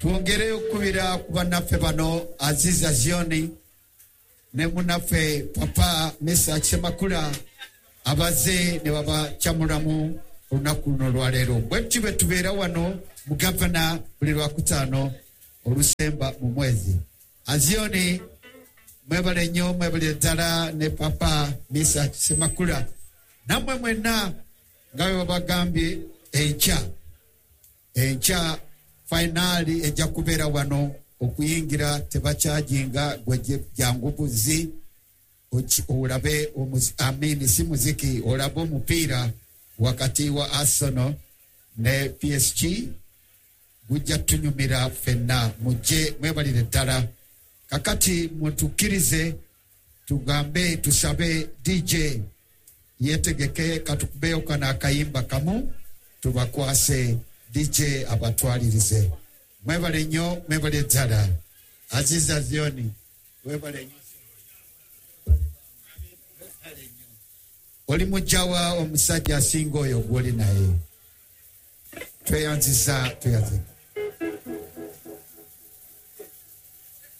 Twongere okukubira ku bannaffe bano, Aziza Zioni ne munnaffe Papa Mesa Semakula, abazze ne babakyamulamu olunaku luno olwaleero. Bwe tutyo bwe tubeera wano mu Gavana buli Lwakutaano olusemba mu mwezi. Azioni, mwebale nnyo, mwebale ddala, ne Papa Misa Semakula, nammwe mwenna. Nga bwe babagambye, enkya, enkya finale ejja kubeera wano. Okuyingira tebakyajinga, gwe jangu buzi olabe amini si muziki, olabe omupiira wakati wa Arsenal ne PSG. Gujja tunyumira ffenna. Mujje, mwebalire ddala. Kakati mutukkirize tugambe, tusabe DJ yetegeke, katukubeyo kano akayimba kamu, tubakwase DJ abatwalirize. Mwebale nnyo, mwebale ddala. Aziza Zioni, webale nnyo. Oli mujjawa omusajja asinga oyo gwoli naye? Tweyanziza, tweyanziza.